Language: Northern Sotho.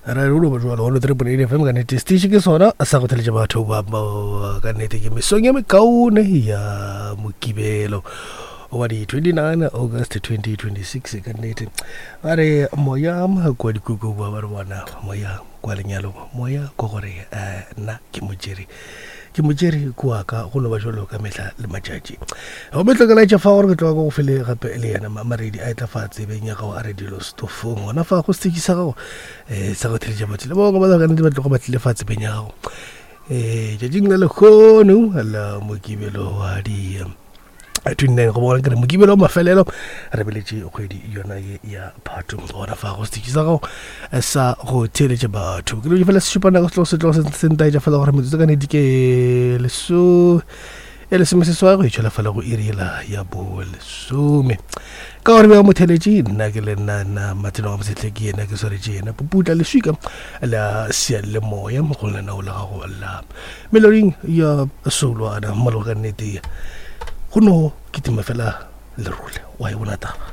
Ra re ba jwalo 103.8 FM ka nnete station ke sona sa go theletša batho ba ka nnete ke mesong ya mekaone ya mokibelo wa di 29 August 2026 ka nnete ba re moya kwa dikuku ba ba re bona moya kwa lenyalong moya ko gore eh, nna ke mojeri ke motšere kua ka go no ba jalo ka mehla le matšatši gomme tlo ke laetša fa gore ke tloga ko go fele gape le yena maredi a etla fa tsebeng ya gago a re dilo stofong gona fa go setšhi sa gago um sa go theletša batho le bangwe ba ka nnete ba tloga ba tlile fa tsebeng ya gago um tšatšing la lekgono la mokibelo wa di 29 go bona kere mokibelo wa mafelelo re beletše kgwedi yona ye ya phato gona fa go setšhi sa gago eh, sa go theeletša batho ke dilo fela se šupa nako setlogo setlogo se ntaetša fela gore metsotso ka nedi ke leso e lesomeseswai go itšhwela fela go iriela ya bolesome ka gore bja motheletše nna ke le nna nna matseno ga mosetlhe ke yena ke swaretše yena poputla leswika la seyalemoya go lenao la gago la meloding ya soulwana mmalo ka nnete go no kitima fela lerole wa e bona taba.